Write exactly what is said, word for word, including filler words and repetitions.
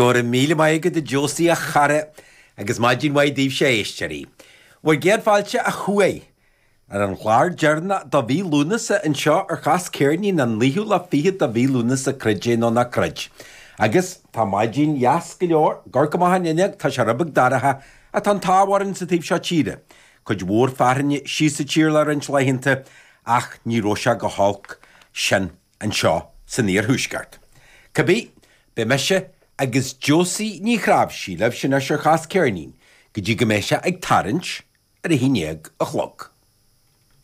Go raibh míle maith agat a Josie a chara agus maidin mhaith daoibhse a éisteoirí. Bhur gcéad fáilte a chuaigh ar an chlár deireanach do mhí Lúnasa anseo ar Chas Ceirnín an naoú lá fichead de mhí Lúnasa creid é nó ná creid. Agus tá maidin dheas go leor, amharc amach an fhuinneog tá sé rud beag dorcha ach tá an t-ádh orainn sa taobh seo tíre. Cuid mhór fearthainne síos sa tír le roinnt laethanta ach ní raibh sé go holc sin anseo san iarthuaisceart. Cibé, beidh mise agus Josie Ní Chráimhsí libh sin ar Chas Ceirnín, go dtí go mbeidh sé ag tarraingt ar a haon déag a chlog.